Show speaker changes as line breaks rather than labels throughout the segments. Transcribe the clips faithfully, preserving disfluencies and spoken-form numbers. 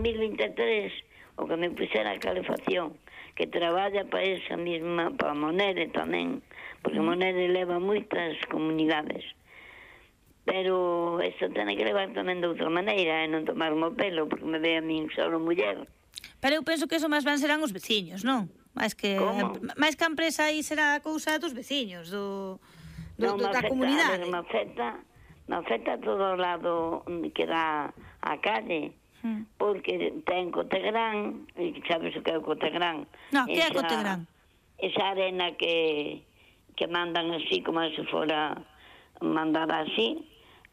mil vinte e tres o que me puxera a calefacción, que traballa para esa mesma, para Monede tamén, porque Monede leva moitas comunidades. Pero isto ten que levar tamén de outra maneira, e non tomarme o pelo, porque me ve a min solo muller.
Pero eu penso que eso máis ben serán os veciños, non? Mais que máis que a empresa aí será a cousa dos veciños, do, do,
non,
do da
afecta,
comunidade.
A ver, me afecta, me afecta todo o lado que dá a calle, hmm. porque ten Cotegrán, e sabes o que é o Cotegrán?
No, que é Cotegrán?
Esa arena que, que mandan así, como se fora mandada así,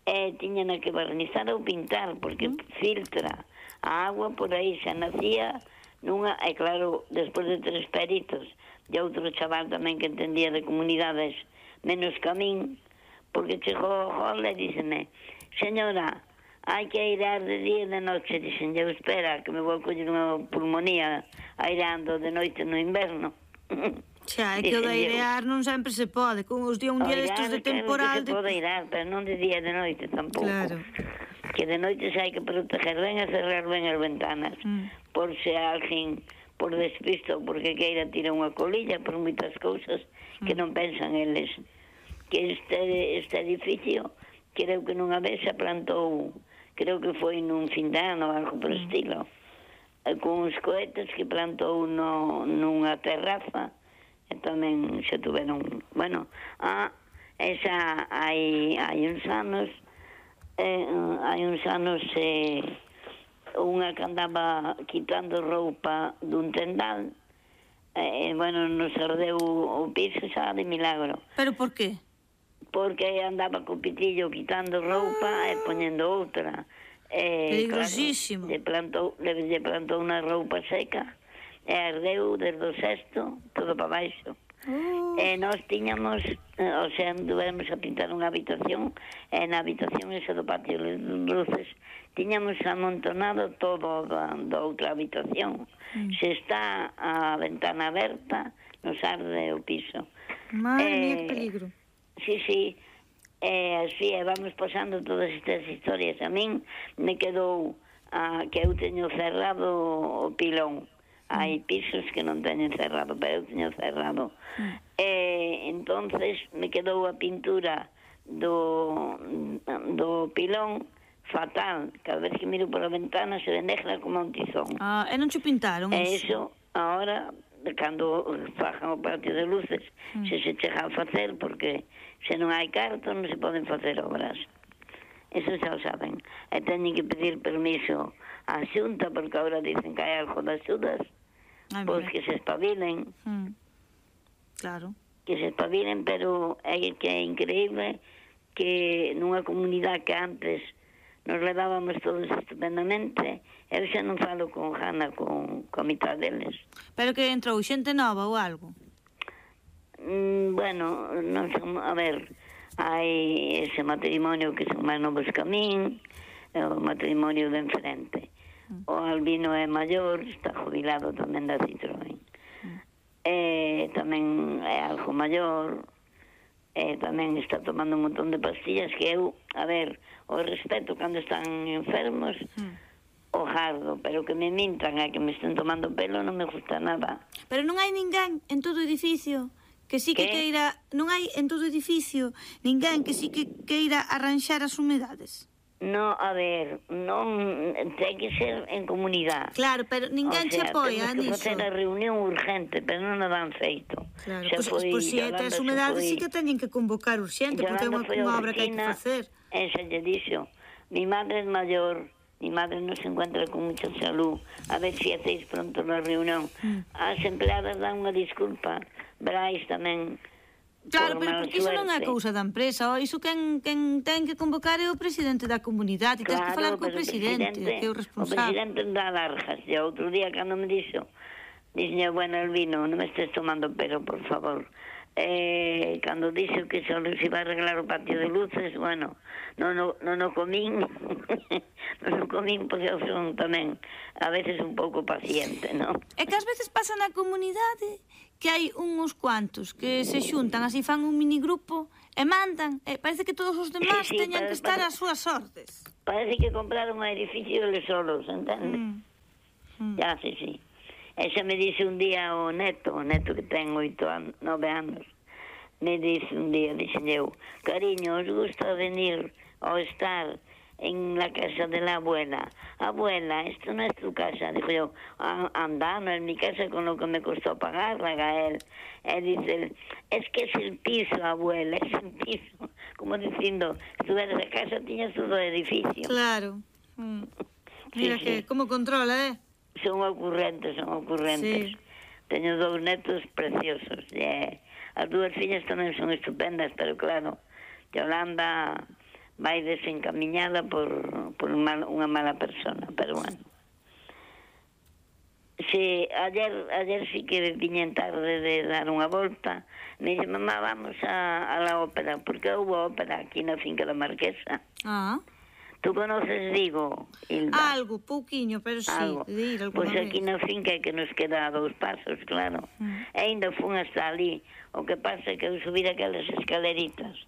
e tiñan que barnizar ou pintar, porque hmm. filtra a agua por aí, xa nacía nunha, e claro, despois de tres peritos e outro chaval tamén que entendía de comunidades menos que a min, porque chegou o gol e díxeme, señora, hai que airear de día e de noche. Dixen, eu espera, que me vou coller unha pulmonía aireando de noite no inverno.
Xa, é que o de airear non sempre se pode, con os días un día destos de temporal...
Airear, que se pode airear, pero non de día e de noite tampouco. Claro. Que de noite se hai que proteger ben e cerrar ben as ventanas, mm. por se alguén por despisto, porque queira tirar unha colilla, por moitas cousas mm. que non pensan eles. Que este, este edificio, creo que nunha vez se plantou, creo que foi nun fin de ano, algo por mm. estilo, con uns cohetes que plantou no, nunha terraza, e tamén se tuveron, bueno, ah, esa hai, hai uns anos, Eh, hai uns anos eh, unha que andaba quitando roupa dun tendal, eh, bueno, nos ardeu o piso xa de milagro.
Pero por qué?
Porque andaba co pitillo quitando roupa ah. e poñendo outra. Eh,
Peligrosísimo.
Claro, le plantou, le, le plantou unha roupa seca e ardeu desde o sexto todo para baixo. Uh. E nós tiñamos, o sea, duvemos a pintar unha habitación, e na habitación esa do patio de luces tiñamos amontonado todo da, da outra habitación. Mm. Se está a ventana aberta, nos arde o piso.
Madre eh, mía, que peligro.
Sí, sí, e así, e vamos pasando todas estas historias. A min me quedou a, que eu teño cerrado o pilón. Hai pisos que non teñen cerrado, pero eu teño cerrado. Mm. E entonces me quedou a pintura do, do pilón fatal. Cada vez que miro pola ventana se ve negra como un tizón.
Ah, e non che pintaron
e iso? E iso, agora, cando fajan o patio de luces, mm. se se chega a facer, porque se non hai carto non se poden facer obras. Eso xa o saben. E teñen que pedir permiso á xunta, porque agora dicen que hai algo das xudas. Ay, pois que se espabilen.
Mm. Claro.
Que se espabilen, pero é que é increíble que nunha comunidade que antes nos levábamos todos estupendamente, eu xa non falo con Jana, con, con a mitad deles.
Pero que entrou xente nova ou algo?
Mm, bueno, non son, a ver, hai ese matrimonio que son máis novos que a min, o matrimonio de enfrente. O Albino é maior, está jubilado tamén da Citroën. Mm. E tamén é algo maior, e tamén está tomando un montón de pastillas que eu, a ver, o respeto cando están enfermos, mm. o jardo, pero que me mintan e que me estén tomando pelo non me gusta nada.
Pero non hai ninguén en todo o edificio que sí que, que queira, non hai en todo o edificio ninguén que sí que queira arranxar as humedades.
No, a ver, non ten que ser en comunidade.
Claro, pero ninguén se apoia niso.
Temos que facer a reunión urgente, pero non a dan feito.
Claro, pois pues, pues, si é as humedades sí que teñen que convocar urgente, porque é unha obra que hai que facer.
Esa lle dixo, mi madre é maior, mi madre non se encuentra con mucha salud, a ver si hacéis pronto na reunión. Mm. As empleadas dan unha disculpa, Brais tamén.
Claro, pero porque iso non é cousa da empresa, o iso quen, quen ten que convocar é o presidente da comunidade, e tens que falar co presidente, que é o responsable.
O presidente dá largas, e outro día cando me dixo, dixo, bueno, Elvino, non me estés tomando pero, por favor. Eh, cando dixo que só se iba a arreglar o patio de luces, bueno, non o non o comín, non o comín porque eu son tamén a veces un pouco paciente, non?
É que ás veces pasa na comunidade que hai uns cuantos que se xuntan, así fan un minigrupo e mandan, e parece que todos os demás sí, sí, teñan que estar ás súas ordes.
Parece que compraron un edificio eles solos, entende? Mm. Ya, sí, sí. Esa me dice un día o neto, o neto que ten oito anos, nove anos, me dice un día, dice eu, cariño, ¿os gusta venir o estar en la casa de la abuela? Abuela, esto no es tu casa. Dijo yo, anda, no es mi casa con lo que me costó pagarla, Gael. Él dice, es que es el piso, abuela, es el piso. Como diciendo, si tuvieras la casa, tiñas todo el edificio.
Claro. Mm. Mira sí, que, sí. Como controla, eh?
Son ocurrentes, son ocurrentes. Sí. Teño dous netos preciosos. Yeah. As dúas fillas tamén son estupendas, pero claro, Yolanda vai desencaminhada por, por mal, unha mala persona, pero bueno. Si, ayer, ayer sí que viñen tarde de dar unha volta, me dice, mamá, vamos a, a la ópera, porque houve ópera aquí na finca da Marquesa.
Ah.
Tú conoces Vigo, Hilda?
Algo, pouquiño, pero sí,
Algo.
de ir alguna
Pois pues aquí
vez.
na finca que nos queda a dous pasos, claro. Mm. E ainda fun hasta ali. O que pasa é que eu subir aquelas escaleritas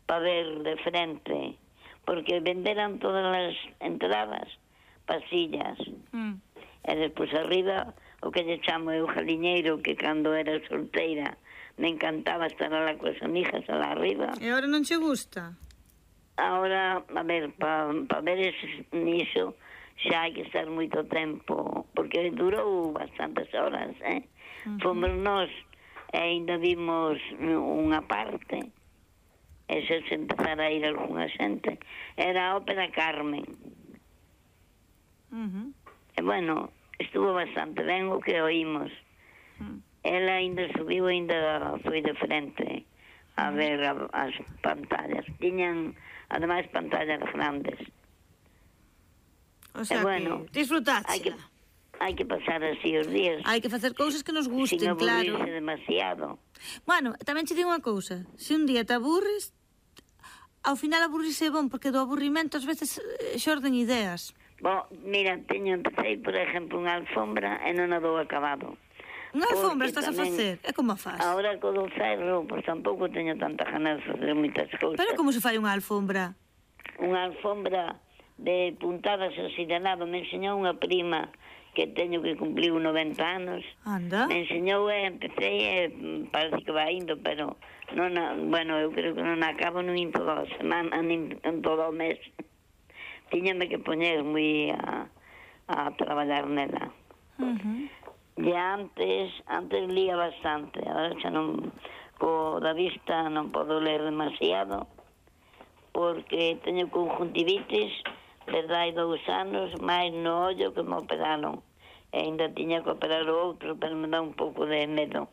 para ver de frente, porque venderan todas as entradas pasillas. Mm. E despois arriba, o que lle chamo eu jaliñeiro, que cando era solteira me encantaba estar alá coas amigas alá arriba.
E agora non che gusta?
Ahora, a ver, para pa ver ese, niso xa hai que estar moito tempo, porque durou bastantes horas, eh? Uh-huh. Fomos nós e ainda vimos unha parte, e se se empezara a ir algunha xente, era a ópera Carmen.
Uh-huh.
E bueno, estuvo bastante ben o que oímos. Uh-huh. Ela ainda subiu, ainda foi de frente a uh-huh. ver a, as pantallas. Tiñan ademais pantallas grandes.
O sea,
e bueno,
que disfrutaste.
Hai que, hai que pasar así os días.
Hai que facer cousas que nos gusten,
sin
claro.
Sin aburrirse demasiado.
Bueno, tamén che digo unha cousa. Se un día te aburres, ao final aburrirse é bon, porque do aburrimento ás veces xorden ideas.
Bo, mira, teño, empecé, por exemplo, unha alfombra e non a dou acabado.
Unha alfombra estás tamén, a facer? É como a faz?
Agora co do ferro, pois tampouco teño tanta ganas de facer moitas cousas.
Pero como se fai unha alfombra?
Unha alfombra de puntadas así de lado. Me enseñou unha prima que teño que cumplir noventa anos.
Anda.
Me enseñou e empecé e parece que vai indo, pero non, bueno, eu creo que non acabo nin toda a semana, nin todo o mes. Tiñame que poñer moi a, a traballar nela.
Uh-huh.
E antes, antes lía bastante, agora xa non, co da vista non podo ler demasiado, porque teño conjuntivitis, desde hai dous anos, máis no ollo que me operaron. E ainda tiña que operar o outro, pero me dá un pouco de medo.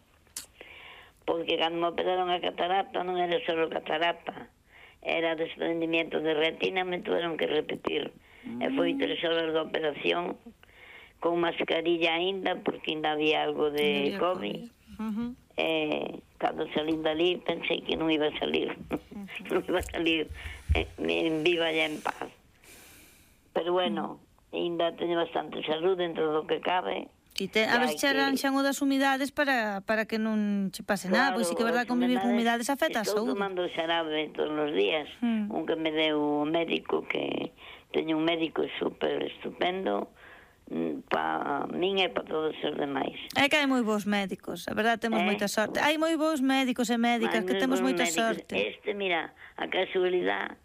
Porque cando me operaron a catarata, non era só catarata, era desprendimiento de retina, me tuvieron que repetir. Mm. E foi tres horas de operación, con mascarilla ainda, porque ainda había algo de no COVID. Uh-huh. Eh, cando salí dali, pensei que non iba a salir. Uh-huh. Non iba a salir eh, en viva e en paz. Pero bueno, uh-huh. ainda teño bastante salud dentro do que cabe.
E te, a ver se arranxan o das humidades para, para que non che pase claro, nada, pois sí que é verdade, convivir con humidades afecta a saúde.
Estou tomando xarabe todos os días, uh-huh. un que me deu o médico, que teño un médico super estupendo, para min e para todos os demais.
É que hai moi bons médicos, a verdade temos eh? moita sorte. Hai moi bons médicos e médicas, que temos moita médicos. sorte.
Este, mira, a casualidade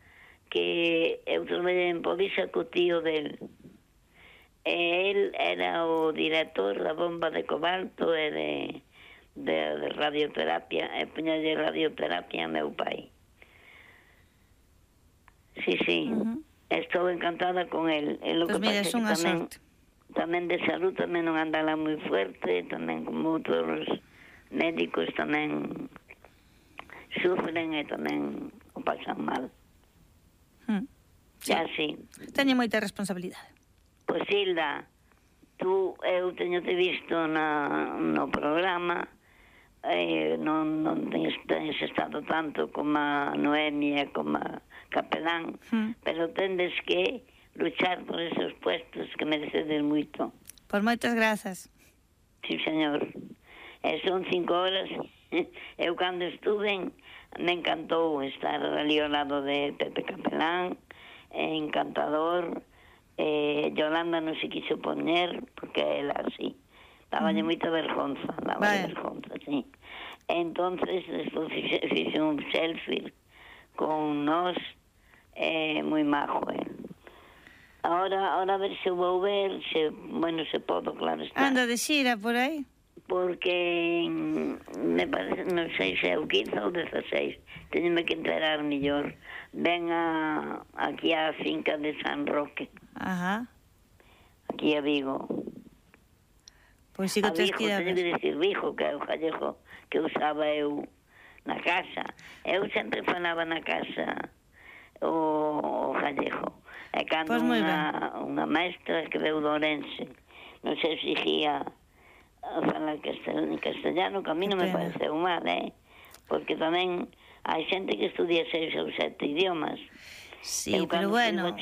que eu traballei en Povisa co tío del. E el era o director da bomba de cobalto e de, de, de radioterapia, e poñalle radioterapia a meu pai. Sí, sí. Uh-huh. Estou encantada con el. E lo
pues
que
mira,
pasa
é unha
tamén,
sorte.
Tamén de salud tamén non andala moi fuerte, tamén como outros médicos tamén sufren e tamén o pasan mal.
Hmm. Sí.
Ya, sí.
Teño moita responsabilidade.
Pois, Hilda, tú, eu teño te visto na, no programa, eh, non, non tens, tens estado tanto como a Noemia, como a Capelán, hmm. pero tendes que luchar por esos puestos que merecedes moito.
Por moitas grazas.
Sí, señor. E son cinco horas. Eu cando estuve me encantou estar ali ao lado de Pepe Capelán, encantador. Eh, Yolanda non se quiso poñer, porque porque ela así. Dáballe moita vergonza, dáballe vergonza, sí. Entonces, despois fixe un selfie con nós, eh, moi majo, eh. Ahora, ahora a ver se vou ver, se, bueno, se podo, claro está.
Anda de xira por aí?
Porque me parece, non sei se é o quince ou dezasseis, teñome que enterar mellor. Ven a, aquí á finca de San Roque.
Ajá.
Aquí a Vigo.
Pois si que tens que ir a ver.
Teño que dicir Vigo, que é o gallego que usaba eu na casa. Eu sempre falaba na casa o, o gallego. E cando
pues
unha, unha maestra que veu do Ourense non se exigía a falar castellano, que a mí non me pareceu mal, eh? Porque tamén hai xente que estudia seis ou sete idiomas.
Sí, pero bueno,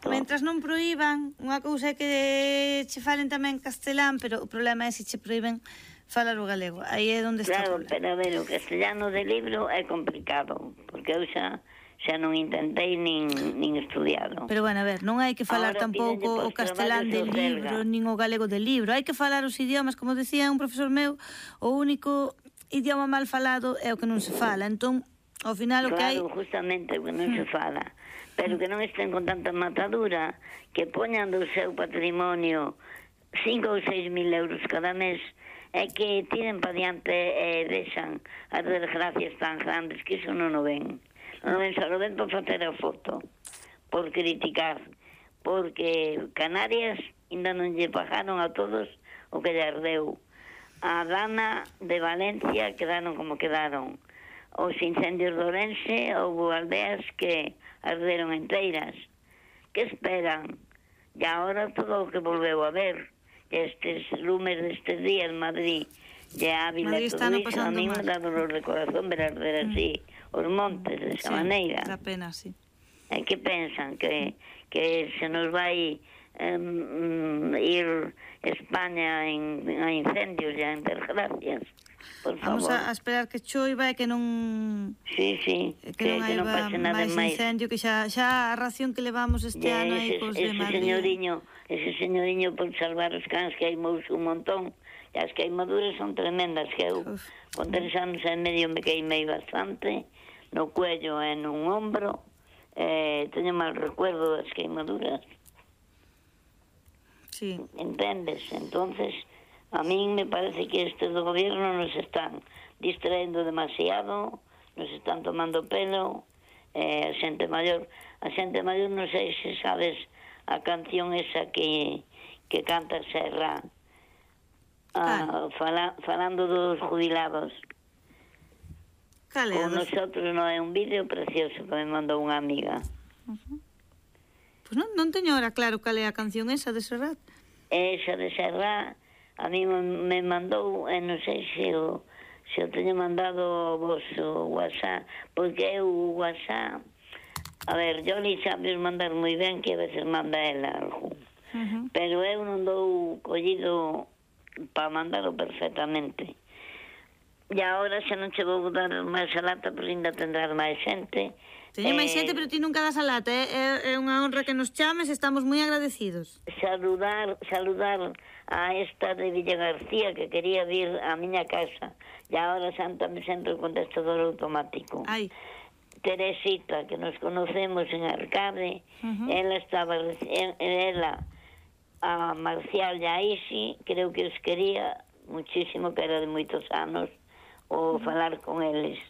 mentras non proíban, unha cousa é que che falen tamén castelán, pero o problema é se che proíben falar o galego. Aí é onde está
o problema. Claro, pero a ver, o castellano de libro é complicado, porque eu xa xa non intentei nin, nin estudiado.
Pero bueno, a ver, non hai que falar ahora tampouco o castelán del libro, nin o galego del libro. Hai que falar os idiomas, como decía un profesor meu, o único idioma mal falado é o que non se fala. Entón, ao final o
claro,
que hai...
Claro, justamente o que non se fala. Pero que non estén con tanta matadura, que poñan do seu patrimonio cinco ou seis mil euros cada mes, é que tiren pa diante e deixan as desgracias tan grandes que iso non o ven. Non o ven, só o ven por facer a foto, por criticar, porque Canarias ainda non lle pagaron a todos o que lle ardeu. A Dana de Valencia quedaron como quedaron. Os incendios de Ourense, houve aldeas que arderon enteiras. Que esperan? E agora todo o que volveu a ver, estes lumes destes días en Madrid, e a Ávila, todo iso, a mí me dá dolor de corazón ver arder así os montes de esa
sí,
maneira.
Da pena, sí.
E que pensan? Que, que se nos vai um, ir España en, en incendios e en desgracias? Por
Vamos a, a esperar que choiva e que non...
Sí, sí,
que, que non hai máis incendio, que xa, xa a ración que levamos este yeah, ano aí cos de Madrid.
Ese señoriño, ese señoriño por salvar os cans que hai mous un montón, e as queimaduras son tremendas, que eu Uf. con tres anos e medio me queimei bastante, no cuello e nun ombro, eh, teño mal recuerdo das queimaduras.
Sí.
Entendes? Entonces... A mí me parece que estes do gobierno nos están distraendo demasiado, nos están tomando pelo, eh, a xente maior, a xente maior non sei se sabes a canción esa que, que canta Serra, ah, fala, falando dos jubilados.
Cale,
con nosotros non é un vídeo precioso que me mandou unha amiga.
Uh-huh. Pois non, non teño ahora claro cal é a canción esa de Serrat.
Esa de Serrat a mí me mandou, e non sei se o, se o teño mandado vos o WhatsApp, porque eu o WhatsApp, a ver, yo li sabes mandar moi ben, que a veces manda ela algo, uh-huh. pero eu non dou collido para mandarlo perfectamente. E agora xa non che vou dar máis a lata, porque ainda tendrás máis xente.
Teño eh, máis xente, pero ti nunca das a lata, eh? é, é unha honra que nos chames, estamos moi agradecidos.
Saludar, saludar a esta de Villa García, que quería vir á miña casa, e agora sántame sempre o contestador automático.
Ai.
Teresita, que nos conocemos en Arcade, uh-huh. ela estaba, ela, a Marcial e a Isi, creo que os quería muchísimo, que era de moitos anos, o uh-huh. falar con eles.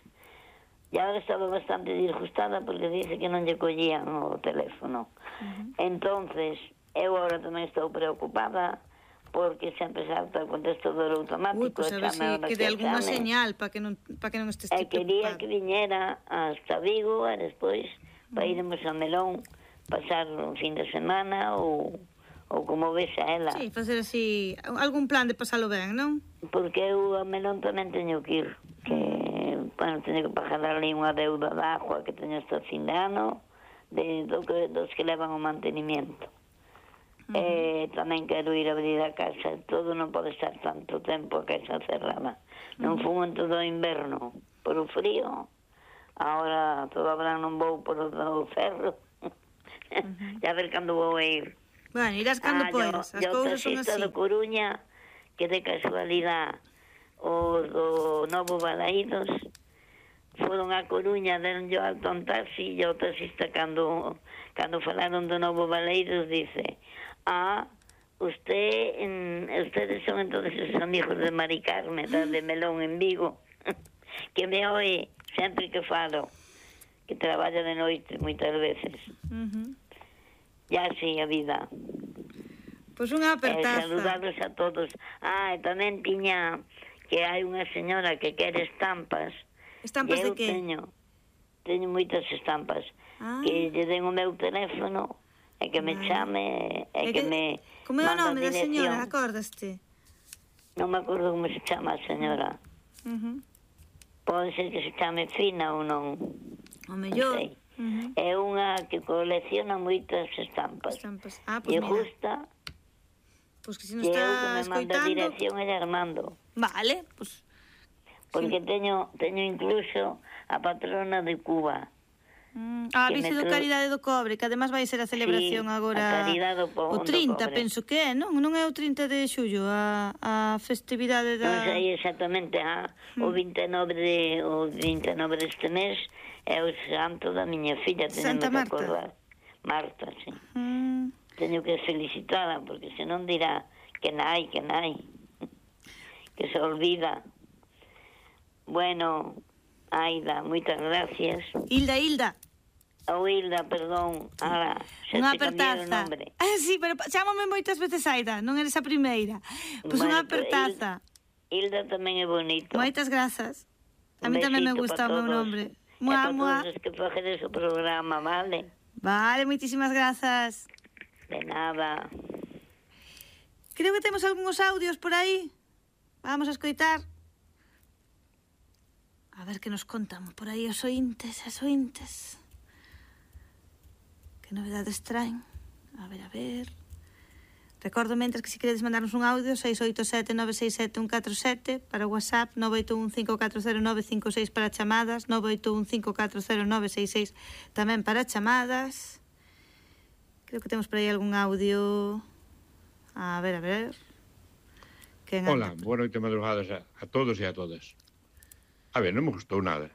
E agora estaba bastante disgustada porque dice que non lle collían o teléfono. Uh-huh. Entonces, eu agora tamén estou preocupada porque sempre salta o contestador automático.
Ui, pois a ver se que de alguna señal para que non para que non estes
preocupado. E quería que viñera hasta Vigo e despois uh-huh. para iremos a Melón, pasar un fin de semana ou, ou como ves a ela.
Sí, facer así algún plan de pasalo ben, non?
Porque eu a Melón tamén teño que ir, que bueno, teño que pagar ali unha deuda de agua que teño hasta fin de ano, de, do que, dos que levan o mantenimiento. Uh-huh. Eh, tamén quero ir a abrir a casa, todo non pode estar tanto tempo a casa cerrada. Non uh-huh. fumo en todo o inverno por o frío, agora todo o verán non vou por o ferro. Uh-huh. Ya ver cando vou a ir.
Bueno, irás cando podes, as cousas son así.
Eu taxista de Coruña, que de casualidade o do Novo Balaídos foron a Coruña, deron yo alto un taxi, e o taxista cando, cando falaron do Novo Balaídos dice, ah, usted, en, ustedes son entonces os amigos de Mari Carmen, de Melón en Vigo, que me oe sempre que falo, que traballa de noite moitas veces. Uh-huh. E así a vida.
Pois pues unha apertaza.
Eh, saludados a todos. Ah, e tamén tiña que hai unha señora que quere estampas.
Estampas de que?
Eu teño, teño moitas estampas. Ah. Que lle den o meu teléfono e que me chame e que, que me
como é o nome da señora, acordaste?
Non me acordo como se chama a señora. Uh-huh. Pode ser que se chame Fina ou non.
O mellor.
Non sei. Uh-huh. É unha que colecciona moitas estampas.
Estampas. Ah, pois
e
mira.
Justa.
Pois que se non está escoitando...
Que eu que me manda a dirección é de Armando.
Vale, pois...
Porque sí. teño, teño incluso a patrona de Cuba.
Mm. Ah, vice do Caridade do Cobre, que además vai ser a celebración
sí,
agora...
a Caridade do Cobre.
O trinta, penso que é, non? Non é o trinta de xullo, a, a festividade da...
Non sei exactamente, ah, mm. o vinte e nove de, o vinte e nove deste mes é o santo da miña filla,
Santa
que
Marta.
acordar. Marta, sí.
Mm.
Teño que felicitada, porque senón dirá que nai, que nai, que se olvida. Bueno, Aida, moitas gracias.
Hilda, Hilda.
Oh, Hilda, perdón. Ahora, xa
unha
te cambiei o nombre.
Ah, sí, pero chámame moitas veces Aida, non eres a primeira. Pois pues bueno, unha apertaza.
Hilda, Hilda tamén é bonito.
Moitas grazas. A mí tamén me gusta o meu nombre.
Mua, mua. E para todos os que facedes o programa, vale?
Vale, moitísimas grazas.
De nada.
Creo que temos algúns audios por aí. Vamos a escoitar. A ver que nos contan por aí os ointes, as ointes. Que novedades traen. A ver, a ver. Recordo mentres que se queredes mandarnos un audio seis oito sete nove seis sete un catro sete para WhatsApp, nove oito un cinco catro cero nove cinco seis para chamadas, nove oito un cinco catro cero nove seis seis tamén para chamadas. Creo que temos por aí algún audio. A ver, a ver.
Hola, boa noite madrugadas a, a todos e a todas. A ver, non me gustou nada.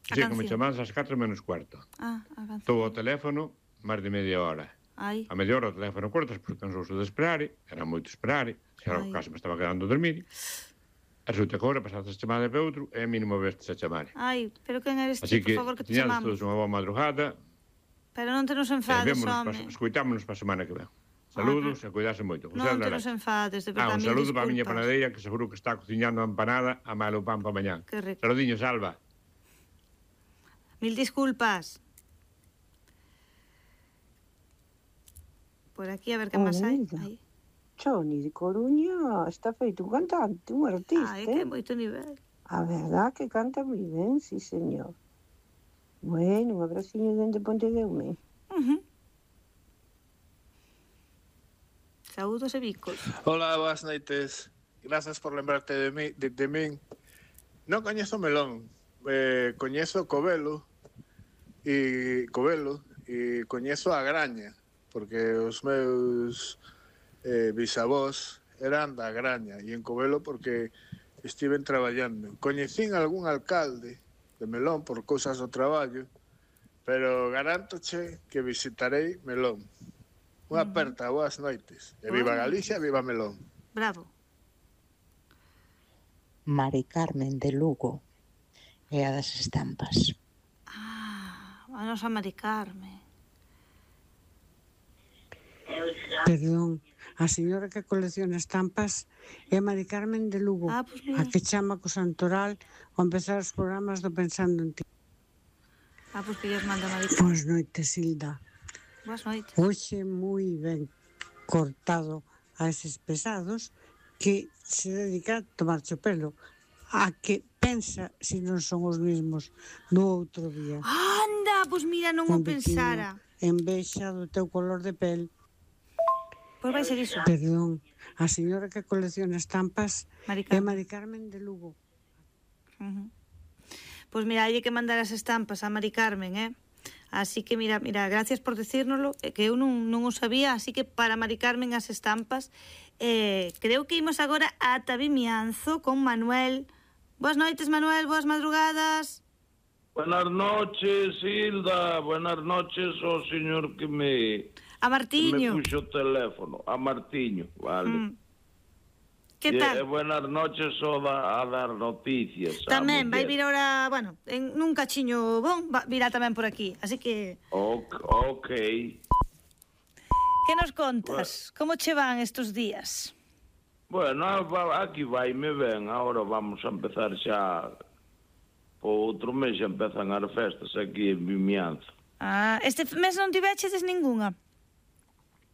Sei que me chamadas ás catro menos cuarto.
Ah, a canción.
Estou ao teléfono máis de media hora.
Ai.
A media hora o teléfono cortas porque cansouse de esperar, era moito esperar, xa o caso me estaba quedando a dormir. E resulta que agora pasaste a chamada para outro e mínimo vestes a chamar.
Ai, pero quen eres
ti,
por favor, que te chamamos?
Así que, todos unha boa madrugada.
Pero non te nos enfades, home.
Escoitámonos para a semana que ven. Saludos ah, e cuidase moito.
Non te nos enfades, de verdade.
Ah, un saludo para a miña panadeira, que seguro que está cociñando a empanada a malo pan para mañá.
Que rico.
Saludiños, Alba.
Mil disculpas. Por aquí, a ver que máis hai.
Choni de Coruña está feito un cantante, un artista.
Ai, que moito nivel.
A verdad que canta moi ben, sí, señor. Bueno, un abraciño dende Pontedeume.
Uh -huh. Saúdos e bicos.
Hola, boas noites. Grazas por lembrarte de mí, de, de min. Non coñezo Melón, eh, coñezo Covelo e Covelo e coñezo a Graña, porque os meus eh, bisavós eran da Graña e en Covelo porque estiven traballando. Coñecín algún alcalde de Melón por cousas do traballo, pero garántoche que visitarei Melón. Unha aperta, boas noites. E viva Galicia, viva Melón.
Bravo.
Mari Carmen de Lugo e a das estampas.
Ah, a nosa Mari Carmen.
Perdón, a señora que colecciona estampas é Mari Carmen de Lugo,
ah, pues
a que chama co Santoral ao empezar os programas do Pensando en Ti.
Ah, pois pues que lles manda Mari Carmen.
Boas noites, Hilda.
Boas noites.
Hoxe moi ben cortado a eses pesados que se dedica a tomarche o pelo, a que pensa se non son os mesmos do outro día.
Anda, pois mira, non o pensara.
Envexa do teu color de pel.
Pois vai ser iso.
Perdón, a señora que colecciona estampas é Mari Carmen de Lugo.
Uh -huh. Pois mira, hai que mandar as estampas a Mari Carmen, eh? Así que, mira, mira, gracias por decírnoslo, que eu non, non o sabía, así que para Mari Carmen as estampas, eh, creo que imos agora ata Vimianzo con Manuel. Boas noites, Manuel, boas madrugadas.
Buenas noches, Hilda, buenas noches ao señor que me...
A Martiño.
Que me puxo o teléfono, a Martiño, vale. Mm.
Que tal?
E, buenas noches ao da, a dar noticias.
Tamén, vai vir ahora, bueno, en nun cachiño bon, virá tamén por aquí, así que...
Ok, ok.
Que nos contas? Bueno. Como che van estes días?
Bueno, aquí vai me ben, agora vamos a empezar xa... O outro mes xa empezan as festas aquí en Vimianzo.
Ah, este mes non tivechedes ninguna?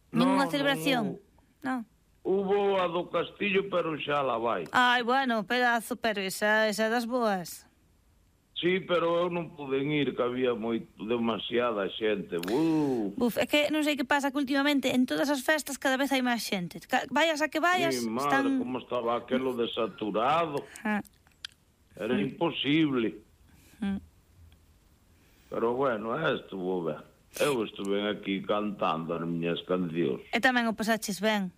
Ninguna no, celebración? Non. No.
Hubo a do Castillo, pero xa la vai.
Ai, bueno, pedazo, pero esa, esa das boas.
Sí, pero eu non pude ir, que había moi, demasiada xente. Uh.
Buf, é que non sei que pasa que últimamente en todas as festas cada vez hai máis xente. Vayas a que vayas,
sí, madre,
están...
como estaba aquelo desaturado. Ah. Era ah. imposible. Ah. Pero bueno, estuvo ben. Eu estuve aquí cantando as miñas cancións.
E tamén o pasaches ben.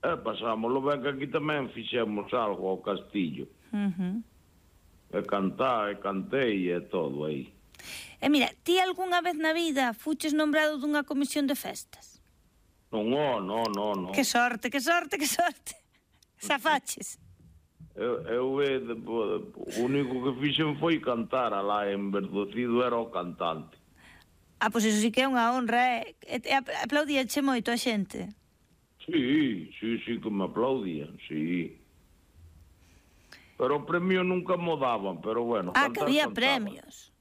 E pasámoslo ben, que aquí tamén fixemos algo ao Castillo. Uh-huh. E cantar, e cantei, e todo aí.
E mira, ti algunha vez na vida fuches nombrado dunha comisión de festas?
Non, oh, non, non, non.
Que sorte, que sorte, que sorte. Safaches.
Eu, eu de, o único que fixen foi cantar, alá en Verdocido era o cantante.
Ah, pois iso sí que é unha honra, eh? E aplaudíache moito a xente?
Sí, sí, sí que me aplaudían, sí. Pero o premio nunca mo daban, pero bueno.
Ah, que había cantaba. Premios.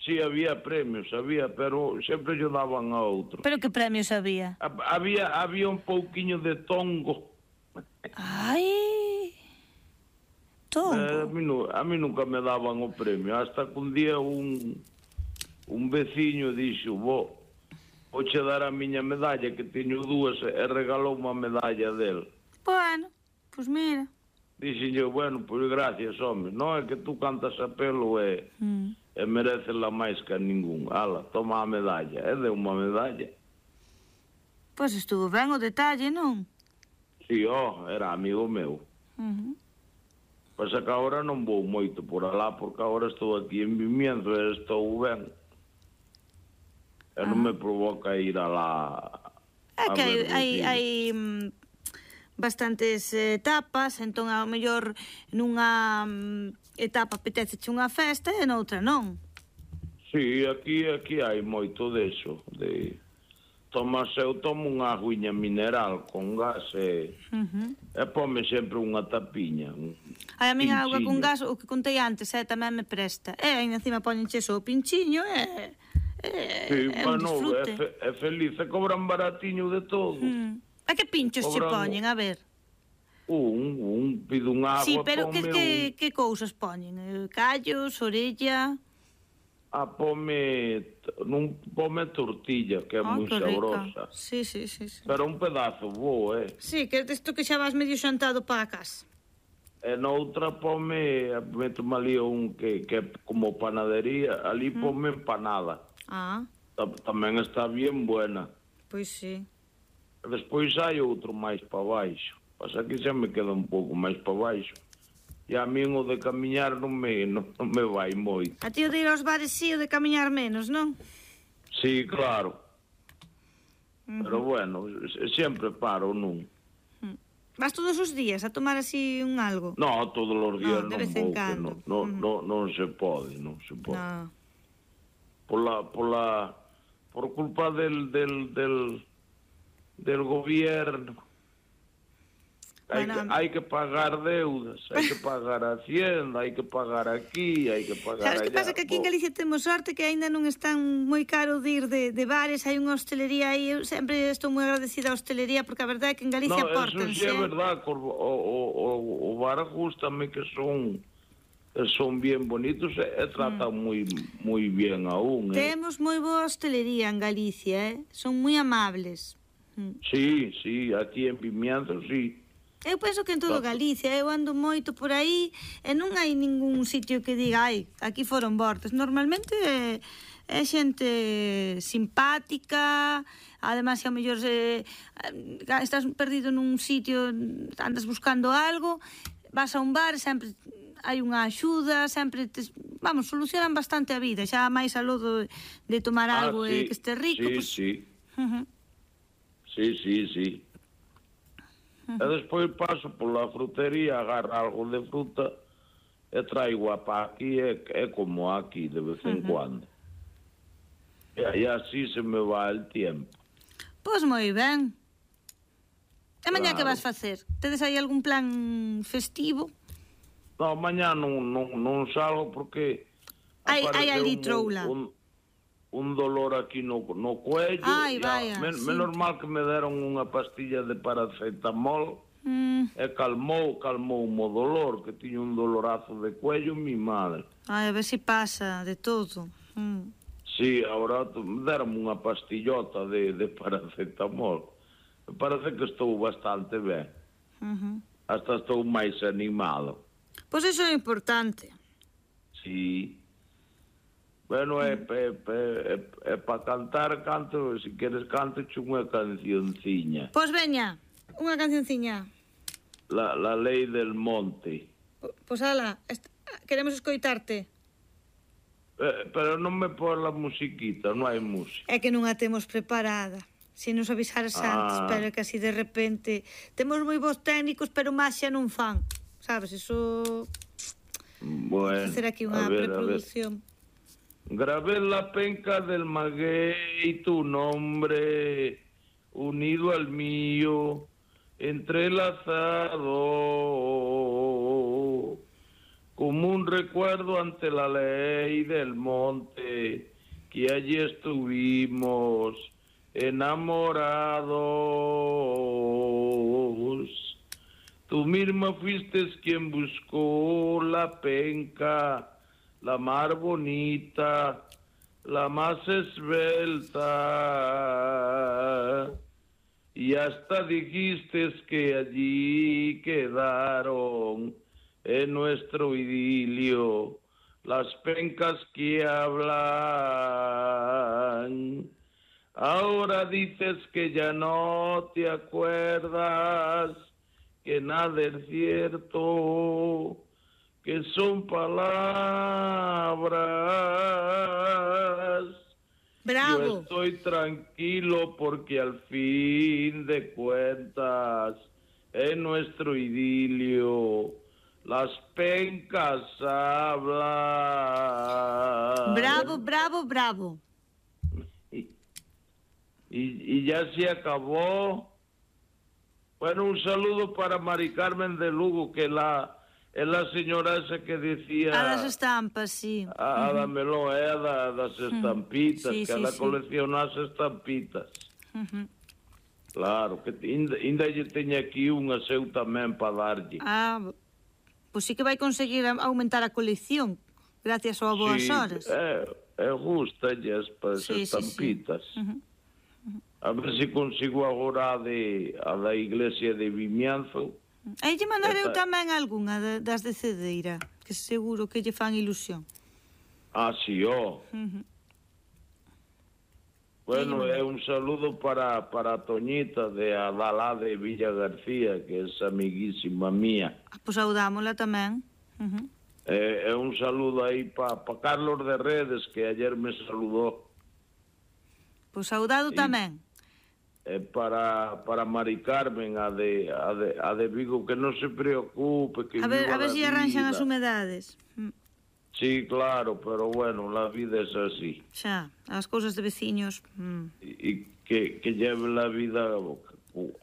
Sí, había premios, había, pero sempre yo daban a outro.
Pero que premios había?
Había, había un pouquiño de tongo.
Ai... Tongo?
Eh, a, mí, a mí nunca me daban o premio, hasta que un día un, un veciño dixo, vou, vou che dar a miña medalla, que teño dúas, e regalou unha medalla del.
Bueno, pois pues mira.
Dixen yo, bueno, pois pues gracias, home, non é que tú cantas a pelo e, mm. e merecela máis que a ningún. Ala, toma a medalla, e deu unha medalla.
Pois pues estuvo ben o detalle, non?
Si, sí, oh, era amigo meu. Uh-huh. Pasa que agora non vou moito por alá, porque agora estou aquí en Vimianzo e estou ben. E non me provoca ir alá.
É que hai, hai, hai bastantes etapas, entón ao mellor nunha etapa apeteceche unha festa e noutra non.
Sí, aquí aquí hai moito deso, de tomas, eu tomo unha aguiña mineral con gas e, uh-huh. e pome sempre unha tapiña. Un
Ai, a minha auga con gas, o que contei antes, eh, tamén me presta. E aí encima poñenche só o pinchiño e... É,
sí,
é
bueno, un disfrute. É, fe, é feliz, e cobran baratiño de todo.
Mm. A que pinchos cobran... che poñen, a ver?
Un, un, pido un agua,
sí, pero que, que,
un...
que cousas poñen? Callos, orella...
Ah, pome, non pome tortilla, que é oh, moi sabrosa.
Sí, sí, sí, sí.
Pero un pedazo bo, eh?
Sí, que é desto que xa vas medio xantado para a casa.
E noutra pome, meto ali un que, que é como panadería, ali mm. pome empanada.
Ah.
Tamén está bien buena.
Pois sí.
E despois hai outro máis para baixo. Pasa que xa me queda un pouco máis para baixo. E a min o de camiñar non me, non, non me vai moito.
A ti o de ir aos bares sí, o de camiñar menos, non?
Sí, claro. Uh-huh. Pero bueno, sempre paro, non?
Uh-huh. Vas todos os días a tomar así un algo?
No, todos os días
no,
non
vou,
que
non,
no, uh-huh. no, non se pode, non se pode. No. Pola, pola, por culpa del, del, del, del gobierno. Hai, bueno, que, hai que pagar deudas, hai que pagar a Hacienda, hai que pagar aquí, hai que pagar allá.
Sabes que pasa? Que aquí en Galicia temos sorte que aínda non están moi caro de ir de, de bares, hai unha hostelería aí, eu sempre estou moi agradecida á hostelería, porque a verdade é que en Galicia
no,
pórtanse.
Non, eso sí é verdade, o, o, o, o bar gustame que son... son bien bonitos e tratan mm. moi moi bien a un. Eh.
Temos moi boa hostelería en Galicia, eh? Son moi amables.
Mm. Sí, sí, aquí en Vimianzo, sí.
Eu penso que en todo Galicia, eu ando moito por aí e non hai ningún sitio que diga, ai, aquí foron bordes. Normalmente é, é xente simpática, además, se ao mellor se, estás perdido nun sitio, andas buscando algo, vas a un bar, sempre hai unha axuda, sempre, te, vamos, solucionan bastante a vida, xa máis a lodo de tomar
ah,
algo
sí,
e que este rico.
Sí,
pues,
sí.
Uh-huh.
Sí, sí, sí. Uh-huh. E despois paso pola frutería, agarro algo de fruta e traigo a pa aquí, é, é como aquí, de vez en uh-huh. cuando. E aí así se me va el tiempo.
Pois moi ben. E mañá claro. Que vas facer? Tedes aí algún plan festivo?
Non, mañá non, non, non salgo porque
hai, hai ali troula.
Un, un dolor aquí no, no cuello.
Ai, vaya,
men,
sí.
Menos mal que me deron unha pastilla de paracetamol mm. e calmou, calmou o dolor, que tiña un dolorazo de cuello mi madre.
Ai, a ver se si pasa de todo. Mm.
Sí, agora deron unha pastillota de, de paracetamol. Me parece que estou bastante ben. Uh-huh. Hasta estou máis animado.
Pois iso é importante.
Sí. Bueno, é, é, é, é para cantar, canto, se queres canto unha cancionciña.
Pois veña, unha cancionciña.
La, la lei del monte.
Pois ala, queremos escoitarte.
Eh, pero non me pon la musiquita, non hai música.
É que non a temos preparada. Se nos avisaras ah. antes, pero que así de repente... Temos moi bons técnicos, pero máis xa non fan. Sabes, eso...
Bueno,
hacer aquí unha preproducción.
Grabé la penca del maguey tu nombre, unido al mío, entrelazado, como un recuerdo ante la ley del monte, que allí estuvimos enamorados. Tú misma fuiste quien buscó la penca, la más bonita, la más esbelta, y hasta dijiste que allí quedaron en nuestro idilio las pencas que hablan. Ahora dices que ya no te acuerdas, que nada es cierto, que son palabras.
Bravo.
Yo estoy tranquilo porque al fin de cuentas en nuestro idilio las pencas hablan.
Bravo, bravo, bravo.
Y, y, y ya se acabó. Bueno, un saludo para Mari Carmen de Lugo, que la, es la señora esa que decía...
A das estampas, sí.
A, a uh-huh. da melón, é a da, das estampitas, uh-huh. sí, que sí, ela sí. colecciona as estampitas. Uh-huh. Claro, que ainda, ainda lle teña aquí unha seu tamén para darlle.
Ah, pois sí que vai conseguir aumentar a colección, gracias ao Boas
sí,
Horas.
É, é gustalle as sí, estampitas. Sí, sí. Uh-huh. A ver se consigo agora a, de, a da iglesia de Vimianzo.
Aí lle mandarei Esta... tamén algunha das de Cedeira, que seguro que lle fan ilusión.
Ah, sí, ó. Oh. Uh-huh. Bueno, é un saludo para, para a Toñita de Adalá de Villa García, que é amiguísima mía.
Ah, pois saudámola tamén. Uh-huh.
É, é un saludo aí para pa Carlos de Redes, que ayer me saludou.
Pois saudado y... tamén.
Eh, para, para Mari Carmen, a de, a, de, a de Vigo, que non se preocupe, que
a ver,
viva
a ver
si
si arranxan as humedades.
Sí, claro, pero bueno, la vida es así.
Xa, as cousas de veciños. Mm.
Y, y que, que lleve la vida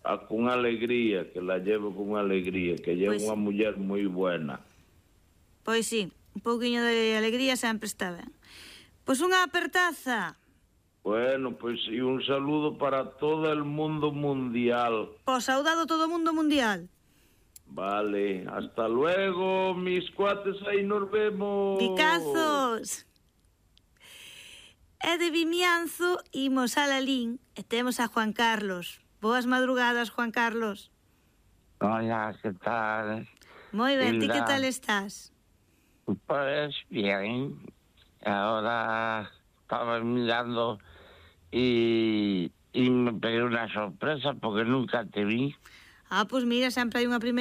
a, con alegría, que la lleve con alegría, que lleve pues, unha muller moi buena.
Pois sí, un pouquiño de alegría sempre está ben. Pois unha apertaza.
Bueno, pues y un saludo para todo el mundo mundial.
Pues saudado todo el mundo mundial.
Vale, hasta luego, mis cuates, aí nos vemos.
Picazos. E de Vimianzo imos a Lalín e temos a Juan Carlos. Boas madrugadas, Juan Carlos.
Hola, ¿qué tal?
Muy bien, ¿y qué tal estás?
Pues bien. Ahora estaba mirando y, y me pegué una sorpresa porque nunca te vi.
Ah, pues mira, sempre hai unha primeira